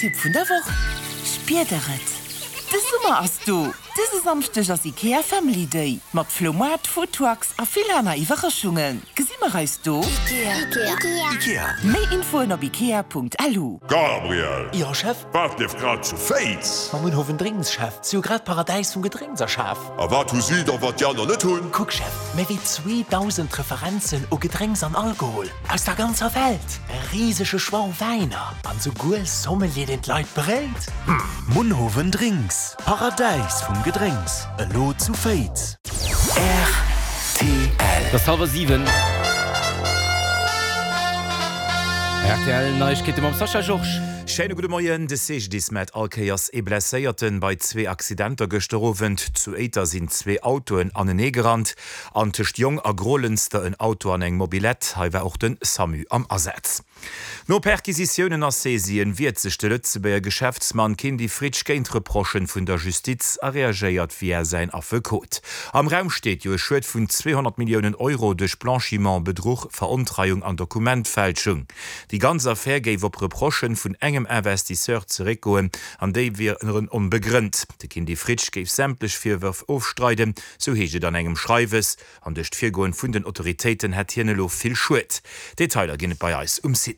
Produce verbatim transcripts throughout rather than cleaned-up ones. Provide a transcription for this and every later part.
Tipp vun der Woch, Spiert der et? De Summer ass do! Dëse Samschdeg ass Ikea Family Day mat Floumaart, Foodtrucks a vill aner Iwwerraschungen. Gesi mer eis do? Ikea. Méi Infoen op ikea.lu. Gabriel! Jo, Chef? Wat leeft grad zu Féiz? Ma Munhowen Drinks, Chef. Si hu grad d'Paradäis vum Gedrénks erschaf. A wat hu si da, wat déi aner net hunn? Kuck, Chef, méi wéi zweedausend Referenzen u Gedrénks an Alkohol aus der ganzer Welt, e risege Choix u Wäiner an souguer Sommelier, deen d'Leit beréit. Munhowen Drinks, Paradäis vum Gedrénks, elo zu Féiz. Rtl. Et ass hallwer siwen. Rtl Neiegkeete mam Sascha Georges. Schéine gudde Moien. De C G D I S mellt all Kéiers ee Blesséierten bei zwee Accidenter gëschter Owend. Zu Éiter sinn zwee Autoen anenee gerannt an tëscht Jong a Grolënster en Auto an eng Mobilette. Hei war och de SAMU am Asaz. No Perquisitiounen a Saisien wiert sech de Lëtzebuerger Geschäftsmann Kindy Fritsch géint Reprochen vun der Justiz a reagéiert via säin Affekot. Am Raum steet jo e Schued vun zweehonnert Milliounen Euro duerch Blanchiment, Bedruch, Verontreiung an Dokumentfälschung. Déi ganz Affär géif op Reprochen vun engem Investisseur zeréckgoen an déi wieren onbegrënnt. De Kindy Fritsch géif sämtlech Virwërf ofstreiden, sou heescht et an engem Schreiwes. An duerch d'Virgoen vun den Autoritéiten hätt hien elo vill Schued. Detailer ginn et bei eis um Site.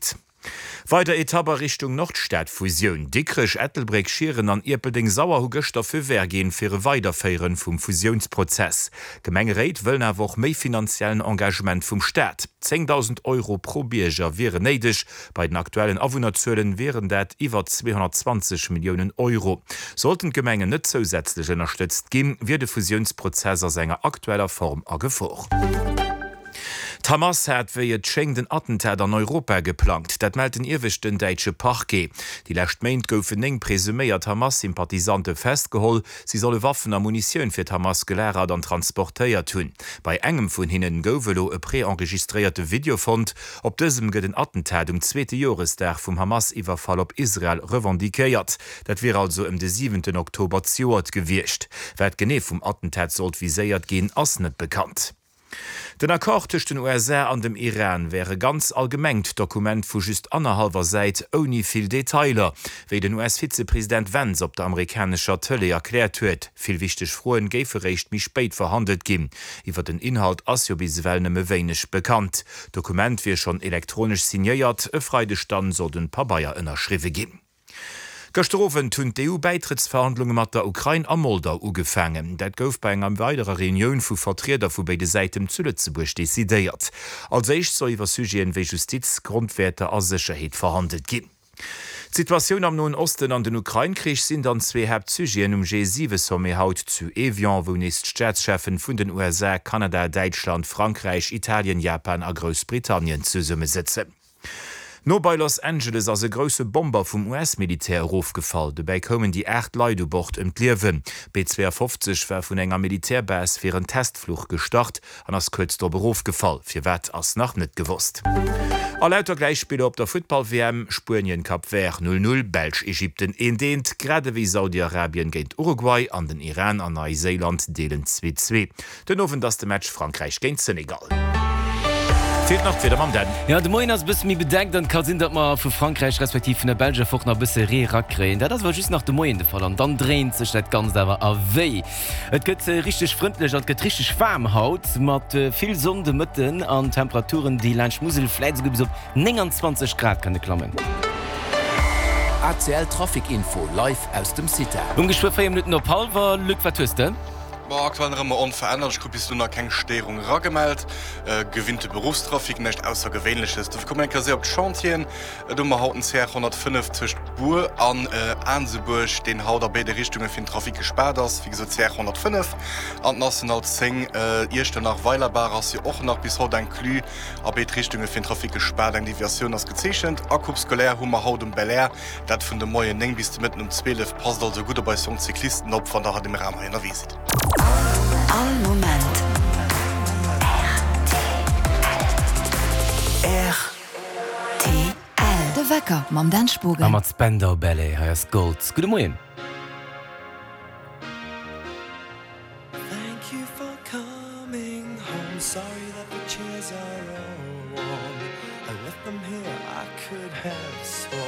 Weider Etapp a Richtung Nordstad-Fusioun, Dikrech, Ettelbréck, Schieren an Ierpeldeng-Sauer hu gëschter Feu vert ginn fir e Weiderféieren vum Fusiounsprozess. D'Gemengeréit wëllen awer och méi finanziellen Engagement vum Staat. zéngdausend Euro pro Bierger wieren néideg, bei den aktuellen Awunnerzuelen wieren dat iwwer zweehonnertzwanzeg Milliounen Euro. Sollten d'Gemengen net zousätzlech ënnerstëtzt ginn, wier de Fusiounsprozess a senger aktueller Form a Gefor. D'Hamas hat wéi et schéngt en Attentat an Europa geplangt. Dat mellt den ieweschten däitsche Parquet. Déi lescht Méint goufen néng presuméiert Hamas-Sympathisante festgeholl. Si solle Waffen a Munitioun fir d'Hamas gelagert an transportéiert hunn. Bei engem vun hinnen gouf elo e preenregistréierte Video fonnt. Op dësem gëtt en Attentat um zweete Joresdag vum Hamas-Iwwerfall op Israel revendiquéiert. Dat wier also ëm de siwenten Oktober zejoert gewiescht. Wat genee vum Attentat sollt viséiert ginn, ass net bekannt. Den Accord tëscht den U S A an dem Iran wär e ganz allgemengt Dokument vu just annerhallwer Säit ouni vill Detailer, wéi den U S-Vizepresident Vance op der amerikanescher Tëlee erkläert huet. Vill wichteg Froen géife réischt méi spéit verhandelt ginn. Iwwer den Inhalt ass jo bis ewell nëmme wéineg bekannt. D'Dokument wier schonn elektronesch signéiert, e Freideg dann soll den Pabeier ënnerschriwwe ginn. Gëschter Owend hunn d'E U-Bäitrëttsverhandlunge mat der Ukrain a Moldau ugefaangen. Dat gouf bei enger weiderer Reunioun vu Vertrieder vu béide Säiten zu Lëtzebuerg decidéiert. Als éischt soll iwwer Sujeten wéi Justiz, Grondwäerter a Sécherheet verhandelt ginn. D'Situatioun am Noen Osten an den Ukrain-Krich sinn dann zwee Haaptsujeten um G siwe Sommet haut zu Evian, wou nees d'Staatscheffen vun den U S A, Kanada, Däitschland, Frankräich, Italien, Japan a Groussbritannien zesummesëtzen. No bei Los Angeles ass e grousse Bomber vum U S-Militär erofgefall. Dobäi koumen déi aacht Leit u Bord ëm d'Liewen. B zwouafofzeg war vun enger Militärbase fir en Testfluch gestart an ass kuerz drop erofgefall. Firwat ass nach net gewosst. A lauter Gläichspiller op der Futtball-W M, Spuenien, Cap Vert null null, Belsch, Ägypten eent eent, grad ewéi Saudi-Arabien géint Uruguay an den Iran an Neiséiland deelen zwee zwee. Den Owend ass de Match Frankräich géint Senegal. Feelt nach d'Wieder mam Dan. Jo, de Moien ass e bësse méi bedeckt an et ka sinn, datt mer vu Frankräich respektiv vun der Belsch erfort nach e bësse Ree rakréien. Dat ass awer just nach de Moien de Fall an dann dréint sech dat Ganzt awer a wéi. Et gëtt richteg frëndlech an et gëtt richteg waarm haut mat vill Sonn de Mëtten an Temperaturen, déi laanscht Musel vläit esouguer bis op nénganzwanzeg Grad kënne klammen. A C L Trafic Info live aus dem CITA. Um geschwë véier Minutten op hallwer. Luc, wat hues de? Bon, aktuell nach ëmmer onverännert. Ech krut bis elo nach keng Stéierung eragemellt. Gewinnte Beruffstrafic, näischt Aussergewéinleches. Dofir komme mer eng Kéier séier op d'Chantieren. Do hu mer haut den C R honnertfënnef tëscht Bur an Aansebuerg, deen haut a béide Richtunge fir den Trafic gespaart ass. Wéi gesot, C R honnertfënnef. An d'National zéng Iechternach-Weilerbaach ass jo och nach bis haut inclus a béid Richtunge fir den Trafic gespaart. Eng Deviatioun ass gezeechent. A Coupe scolaire hu mer haut um Belair, dat vun de Moien néng bis de Mëtten um zwielef. Passt also gutt op eis jonk Cyclisten op, wann der an deem Raum hei ënnerwee sidd. All Moment R T L. De Wecker mam Dan A Spogen. mat Spandau Ballet, hei ass Gold. Gudde Moien. Thank you for coming home. Sorry that the chairs are all warm. I left them here, I could have sworn.